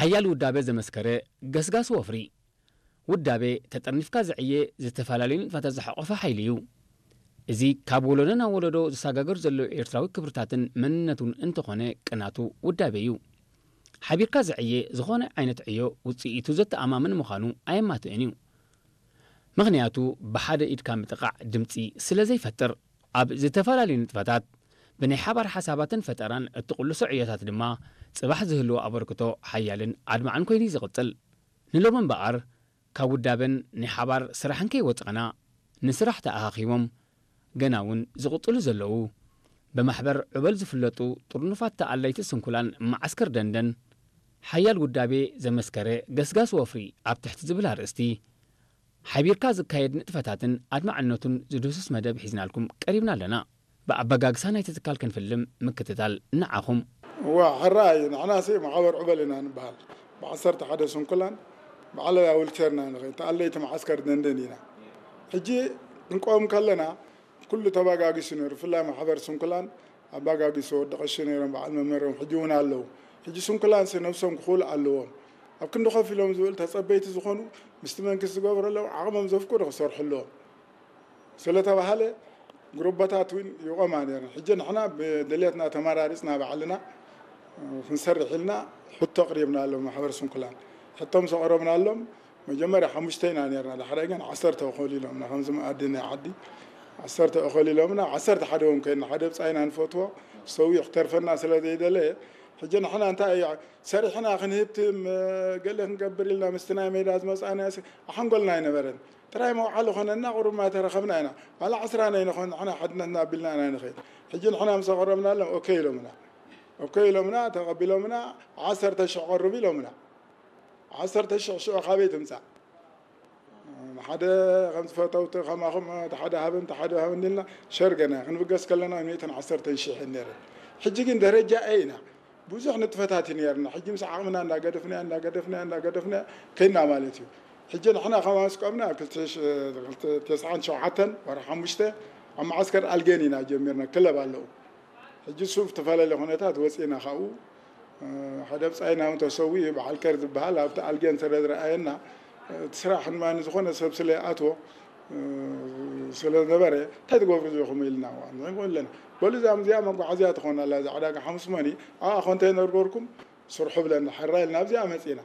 ሓያል ውዳበ ዘመስከረ ገስጋስ ወፍሪ። ውዳበ ተጠርኒፍካ ዝዕየ ዝተፈላለዩ ንጥፈታት ዝሓቖፈ ሓይሊ እዩ። እዚ ካብ ወለዶ ናብ ወለዶ ዝሰጋገር ዘሎ ኤርትራዊ ክብርታትን መንነቱን እንተኾነ ቅናቱ ውዳበ እዩ። ሓቢርካ ዝዕየ ዝኾነ ዓይነት ዕዮ ውጽኢቱ ዘተኣማምን ምዃኑ ኣየማትእን እዩ። ምኽንያቱ ብሓደ ኢድካ ምጥቓዕ ድምጺ ስለ ዘይፈጥር። ኣብ ዝተፈላለዩ ንጥፈታት ብናይ ሓባር ሓሳባትን ፈጠራን እትቕልሶ ዕዮታት ድማ ጽባሕ ዝህልዎ ኣበርክቶ ሓያልን ኣድማዕን ኮይኑ እዩ ዝቕጽል። ንሎሚ እምበኣር ካብ ውዳበን ናይ ሓባር ስራሕን ከይወጻእና ንስራሕ ተኣኻኺቦም ገና እውን ዝቕጽሉ ዘለዉ ብማሕበር ዕበል ዝፍለጡ ጥርኑፋት ተኣለይቲ ስንኩላን መዓስከር ደንደን ሓያል ውዳቤ ዘመስከረ ገስጋስ ወፍሪ ኣብ ትሕቲ ዝብል ኣርእስቲ ሓቢርካ ዝካየድ ንጥፈታትን ኣድማዕነቱን ዝድህስስ መደብ ሒዝናልኩም ቀሪብና ኣለና። ብኣበጋግሳ ናይቲ ትካል ክንፍልም ምክትታል ንዓኹም። እዋ ሕራይ ንሕናሲ ማሕበር ዕበል ኢና ንበሃል። ብዓሰርተ ሓደ ስንኩላን ብዓለባ ዊልቸርና ንኸይድ ተኣለይቲ መዓስከር ደንደን ኢና። ሕጂ ክንቆም ከለና ኩሉ ተባጋጊሱ ነይሩ። ብፍላይ ማሕበር ስንኩላን ኣባጋጊሱ ወዲ ቀሺ ነይሮም በዓል መመሪኦም ሕጂ እውን ኣለዉ። ሕጂ ስንኩላንሲ ነብሶም ክኽእሉ ኣለዎም። ኣብ ክንዲ ኮፍ ኢሎም ዝብል ተጸበይቲ ዝኾኑ ምስቲ መንግስቲ ዝገብረሎም ዓቕሞም ዘፍቅዶ ክሰርሑ ኣለዎም ስለተባሃለ ግሩባታት እውን ይቆማ ነይረን። ሕጂ ንሕና ብድልየትና ተመራሪጽና ባዕልና ክንሰርሕ ኢልና ሕቶ ኣቕሪብና ኣሎ ማሕበር ስንኩላን። ሕቶ ምስ ኣቕረብናሎም መጀመርያ ሓሙሽተ ኢና ነርና፣ ዳሕራይ ግን ዓሰርተ እኾል ኢሎምና። ከምዚ መኣዲ ናይ ዓዲ ዓሰርተ እኾል ኢሎምና፣ ዓሰርተ ሓደ እውን ኮይንና፣ ሓደ ብጻይና ንፈትዎ ሰዊኡ ክተርፈና ስለ ዘይደለየ፣ ሕጂ ንሕና እንታይ እዩ ሰሪሕና ክንህብትም ገለ ክንገብር ኢልና ምስቲ ናይ ሜዳ ዝመጻእናዮ ኣሓንጎልና ኣይነበረን። ጥራይ መውዓሊ ኾነና ቁሩብ ማይ ተረኸብና ኢና። ዋላ ዕስራ ናይ ንኾን ንሕና ሓድነትና ኣቢልና ኢና ንኸይድ። ሕጂ ንሕና ምስ ኣቐረብናሎም ኦኬ ኢሎምና። ኦኬ ኢሎምና፣ ተቐቢሎምና፣ ዓሰርተ ሽሕ ቀርቡ ኢሎምና። ዓሰርተ ሽሕ ሽዑ ካበይ ትምጻእ? ሓደ ከም ዝፈተውቲ ከማኹም እቲ ሓደ ሃብን እቲ ሓደ ሃብን ኢልና ሸር ገና ክንብገስ ከለና ሚእትን ዓሰርተን ሽሕ ነይረን። ሕጂ ግን ደረጃ ኤ ኢና። ብዙሕ ንጥፈታት እዩ ነይርና። ሕጂ ምስ ዓቕምና እንዳገደፍናዮ፣ እንዳገደፍናዮ፣ እንዳገደፍናዮ ከይና ማለት እዩ። ሕጂ ንሕና ከማን ስቆምና ክልተ ሽ-፣ ክልተ ተስዓን ሸውዓተን ወርሒ ሓሙሽተ ኣብ መዓስከር ኣልጌን ኢና ጀሚርና። ክለብ ኣለዉ። ሕጂ እሱ ብዝተፈላለየ ኩነታት ወፂእና ካብኡ፣ እ፣ ሓደ ብፃይና እውን ተሰዊኡ በዓል ከር ዝበሃል ኣብቲ ኣልጌን ስለ ዝረኣየና፣ እቲ ስራሕ ድማ ንዝኾነ ሰብ ስለ ይኣትዎ፣ እ፣ ስለ ዝነበረ፣ "እንታይ ትገብሩ ዘለኹም?" ኢልና፣ "ንዕንቁ ኣለና። በሉ እዚኣ፣ እዚኣ መጓዓዝያ ትኾን ኣላ፣ እዛ ዕዳጋ ሓሙስ መኒ፣ ኣብኣ ኮንቴነር ገርኩም ስርሑ" ብለና፣ ሕራይ ኢልና ኣብዚኣ መፂእና።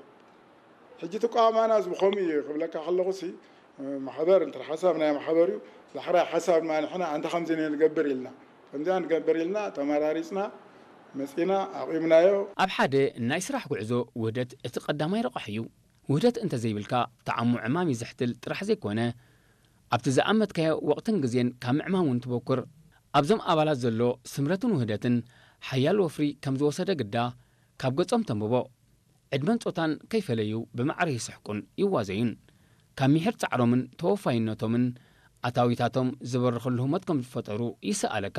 ሕጂ ትቋማና እዚ ብኸምኡ እዩ ክብለካ ከለኹ ሲ፣ ማሕበር እንተ ሓሳብ ናይ ማሕበር እዩ። ዳሕራይ ሓሳብ ድማ ንሕና ኣንታ ከምዚ ንገብር ኢልና፣ ከምዚኣ ንገብር ኢልና ተመራሪጽና መጺና ኣቑምናዮ። ኣብ ሓደ ናይ ስራሕ ጉዕዞ ውህደት እቲ ቀዳማይ ረቋሒ እዩ። ውህደት እንተዘይብልካ፣ ጣዕሙ ዕማም እዩ ዘሕትል ጥራሕ ዘይኮነ፣ ኣብቲ ዝኣመትካዮ ወቕትን ግዜን ካብ ምዕማም እውን ትበኩር። ኣብዞም ኣባላት ዘሎ ስምረትን ውህደትን ሓያል ወፍሪ ከም ዝወሰደ ግዳ ካብ ገጾም ተንብቦ። ዕድመን ጾታን ከይፈለዩ ብማዕረ ይስሕቁን ይዋዘዩን። ካብ ሚሒር ጻዕሮምን ተወፋይነቶምን ኣታዊታቶም ዝበርኸሉ ህሞት ከም ዝፈጠሩ ይስኣለካ።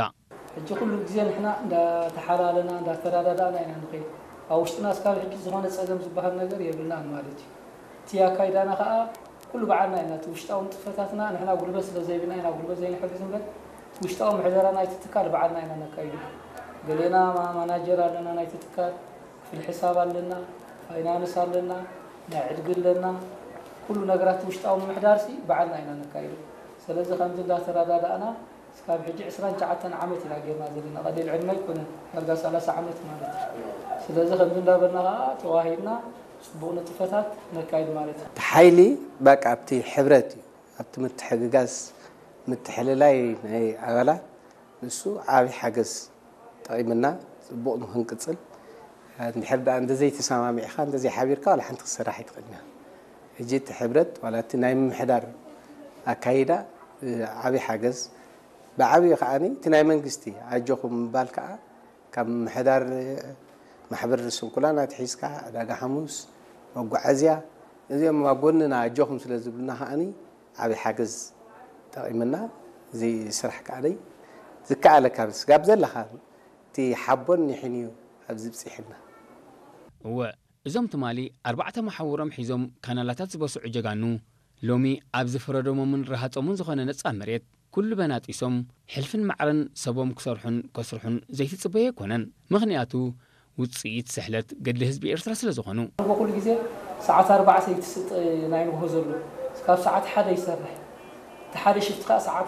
ሕጂ ኩሉ ግዜ ንሕና እንዳተሓላለና እንዳተረዳዳእና ኢና ንኸይድ። ኣብ ውሽጥና እስካብ ሕጂ ዝኾነ ጸገም ዝበሃል ነገር የብልናን ማለት እዩ። እቲ ኣካይዳና ከኣ ኩሉ በዓልና ኢና። እቲ ውሽጣዊ ንጥፈታትና ንሕና ጉልበት ስለ ዘይብልና ኢና ጉልበት ዘይንሕግዝ እምበር፣ ውሽጣዊ ምሕደራ ናይቲ ትካል በዓልና ኢና ነካይዱ። ገሌና ማ-፣ ማናጀር ኣለና ናይቲ ትካል፣ ክፍሊ ሕሳብ ኣለና፣ ፋይናንስ ኣለና፣ ናይ ዕድጊ ኣለና። ኩሉ ነገራት ውሽጣዊ ምምሕዳርሲ በዓልና ኢና ነካይዶ። ስለዚ ከምዚ እንዳተረዳዳእና እስካብ ሕጂ ዕስራን ትሽዓተን ዓመት ኢና ጌርና ዘለና። ቀሊል ዕድመ ኣይኮነን፣ ዳርጋ ሰላሳ ዓመት ማለት እዩ። ስለዚ ከምዚ እንዳበልና ከኣ ተዋሂድና ጽቡቕ ንጥፈታት ነካይድ ማለት እዩ። እቲ ሓይሊ በቃ ኣብቲ ሕብረት እዩ፣ ኣብቲ ምትሕግጋዝ፣ ምትሕልላይ ናይ ኣባላት ንሱ ዓቢ ሓገዝ ጠቒምና ጽቡቕ ንኽንቅጽል። እንድሕር ደኣ እንተዘይተሰማሚዕካ፣ እንተዘይሓቢርካ ዋላ ሓንቲ ክትሰርሕ ኣይትኽእልን ኢኻ። ሕጂ እቲ ሕብረት ዋላ እቲ ናይ ምምሕዳር ኣካይዳ፣ እ፣ ዓቢ ሓገዝ፣ ብዓብዩ ከኣኒ እቲ ናይ መንግስቲ ኣጆኹም ምባል ከኣ ካብ ምምሕዳር ማሕበር ስንኩላን ኣትሒዝካ ዕዳጋ ሓሙስ፣ መጓዓዝያ፣ እዚኦም ኣብ ጎንና ኣጆኹም ስለ ዝብሉና ከኣኒ ዓቢ ሓገዝ ጠቒምና። እዚ ስራሕ ከኣ ደይ ዝከኣለካ ስጋብ ዘለኻ እቲ ሓቦን ኒሕን እዩ ኣብዚ ብጺሕና። እወ፣ እዞም ትማሊ ኣርባዕተ መሓውሮም ሒዞም ካናላታት ዝበስዑ ጀጋኑ፣ ሎሚ ኣብ ዝፈረዶሞምን ረሃጾምን ዝኾነ ነጻ መሬት፣ ኩሉ በናጢሶም፣ ሕልፍን ማዕረን ሰቦም ክሰርሑን ከስርሑን ዘይትጽበዮ ኣይኮነን። ምኽንያቱ፣ ውፅኢት ስሕለት ገድሊ ህዝቢ ኤርትራ ስለ ዝኾኑ። በኩሉ ግዜ ሰዓት ኣርባዕተ ይትስጥ ናይ ንግሆ ዘሎ ካብ ሰዓት ሓደ ይሰርሕ እቲ ሓደ ሽፍት ከዓ ሰዓት